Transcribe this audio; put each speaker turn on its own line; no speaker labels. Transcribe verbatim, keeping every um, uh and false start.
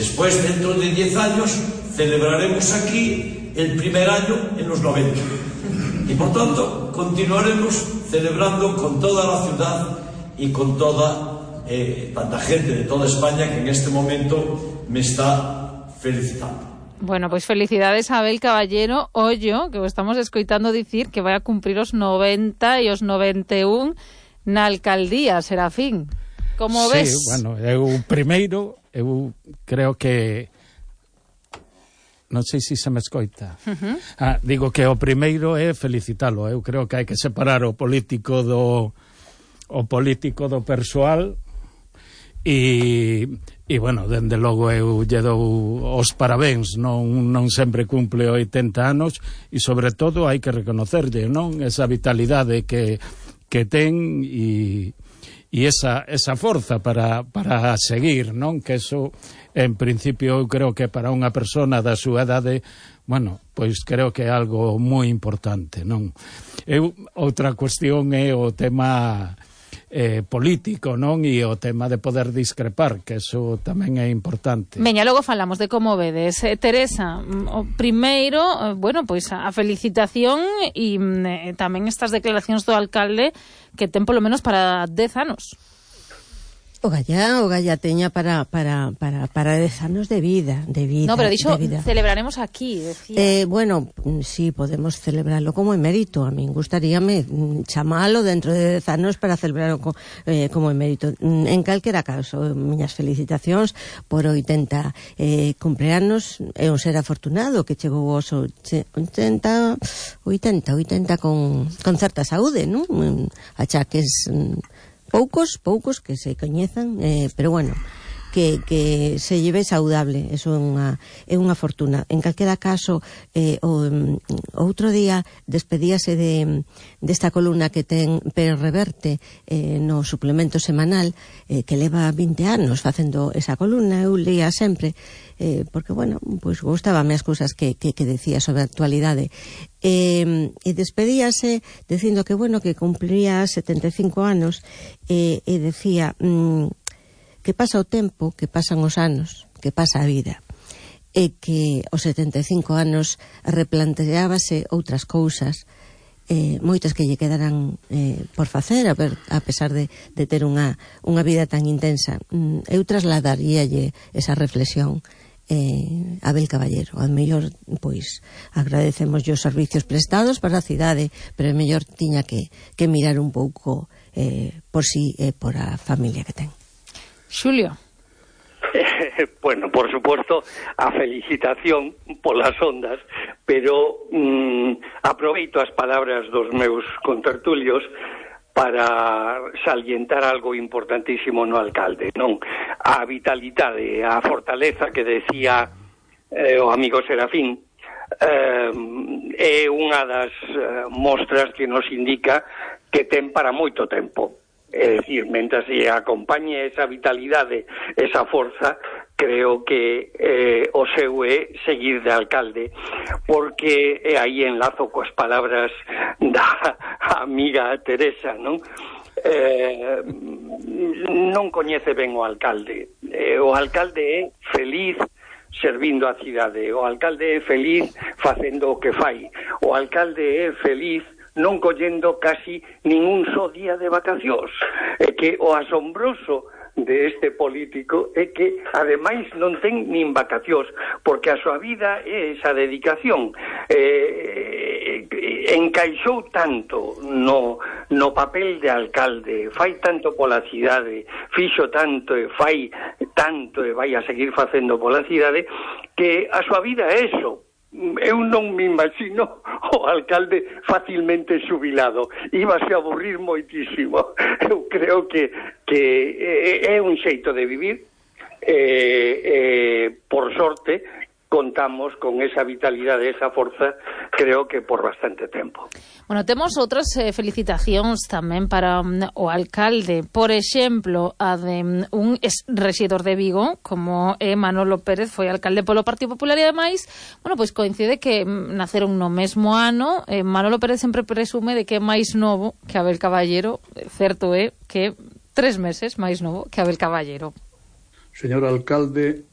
Después, dentro de diez años, celebraremos aquí el primer año en los noventa. Y por tanto, continuaremos celebrando con toda la ciudad y con toda eh, tanta gente de toda España que en este momento me está felicitando.
Bueno, pois felicidades a Abel Caballero Ollo, que o estamos escoitando dicir que vai a cumprir os noventa e os noventa e un na alcaldía, Serafín. Como
sí,
ves?
Sí, bueno, eu primeiro, eu creo que non sei se se me escoita. Uh-huh. Ah, digo que o primeiro é felicitalo. Eu creo que hai que separar o político do o político do persoal. E, e bueno, dende logo eu lle dou os parabéns, non, non sempre cumple oitenta anos e sobre todo hai que reconocerlle, non, esa vitalidade que, que ten e, e esa, esa forza para, para seguir, non, que eso en principio eu creo que para unha persona da súa edade, bueno, pois creo que é algo moi importante, non. Eu, outra cuestión é o tema Eh, político, non? E o tema de poder discrepar, que eso tamén é importante.
Veña, logo falamos de como vedes. Eh, Teresa, o primeiro, eh, bueno, pois a felicitación e eh, tamén estas declaracións do alcalde que ten polo menos para dez anos.
O Gallá, o Gallá teña para para para para dez anos de vida, de vida.
No, pero dixo, celebraremos aquí, decía.
Eh, bueno, sí, podemos celebrarlo como emérito. A min gustaríame chamalo dentro de dez anos para celebrarlo co, eh, como emérito. En calquera caso, miñas felicitacións por oitenta eh, cumpleanos. É un ser afortunado que chegou aos oitenta, oitenta, oitenta con, con certa saúde, non? Achaques poucos, poucos que se coñezan, eh, pero bueno, que, que se lleve saudable, eso é unha, é unha fortuna. En calquera caso, eh, o, outro día despedíase de desta columna que ten Pérez Reverte eh, no suplemento semanal, eh, que leva vinte anos facendo esa columna, eu leía sempre, eh, porque, bueno, pois gustábame as cousas que, que, que decía sobre a actualidade. Eh, e despedíase dicindo que, bueno, que cumplía setenta e cinco anos, eh, e decía mmm, que pasa o tempo, que pasan os anos, que pasa a vida, e que os setenta e cinco anos replanteábase outras cousas, eh, moitas que lle quedaran eh, por facer, a, ver, a pesar de, de ter unha, unha vida tan intensa. Mm, eu trasladaríalle esa reflexión eh, a Abel Caballero. A mellor, pois, agradecemos os servicios prestados para a cidade, pero a mellor tiña que, que mirar un pouco eh, por si e por a familia que ten.
Xulio.
Eh, bueno, por suposto, a felicitación polas ondas, pero mm, aproveito as palabras dos meus contertulios para salientar algo importantísimo no alcalde, non? A vitalidade, a fortaleza que decía eh, o amigo Serafín, eh, é unha das eh, mostras que nos indica que ten para moito tempo. É dicir, mentras se acompañe esa vitalidade, esa forza, creo que eh, o seu é seguir de alcalde, porque e aí enlazo coas palabras da amiga Teresa, non? Eh, non coñece ben o alcalde. Eh, o alcalde é feliz servindo a cidade, o alcalde é feliz facendo o que fai, o alcalde é feliz non collendo casi ningún só día de vacacións. É que o asombroso de este político é que ademais non ten nin vacacións, porque a súa vida é esa dedicación. Eh, encaixou tanto no, no papel de alcalde, fai tanto pola cidade, fixo tanto e fai tanto e vai a seguir facendo pola cidade, que a súa vida é eso. Eu non me imagino o alcalde facilmente xubilado, íbase a aburrir moitísimo. Eu creo que, que é un xeito de vivir, eh, eh, por sorte contamos con esa vitalidade, esa forza, creo que por bastante tempo.
Bueno, temos outras eh, felicitacións tamén para um, o alcalde. Por exemplo, a de um, un rexedor de Vigo, como é Manolo Pérez, foi alcalde polo Partido Popular e ademais, bueno, pois coincide que um, naceron no mesmo ano. eh, Manolo Pérez sempre presume de que é máis novo que Abel Caballero. Certo é que tres meses máis novo que Abel Caballero.
Señor alcalde,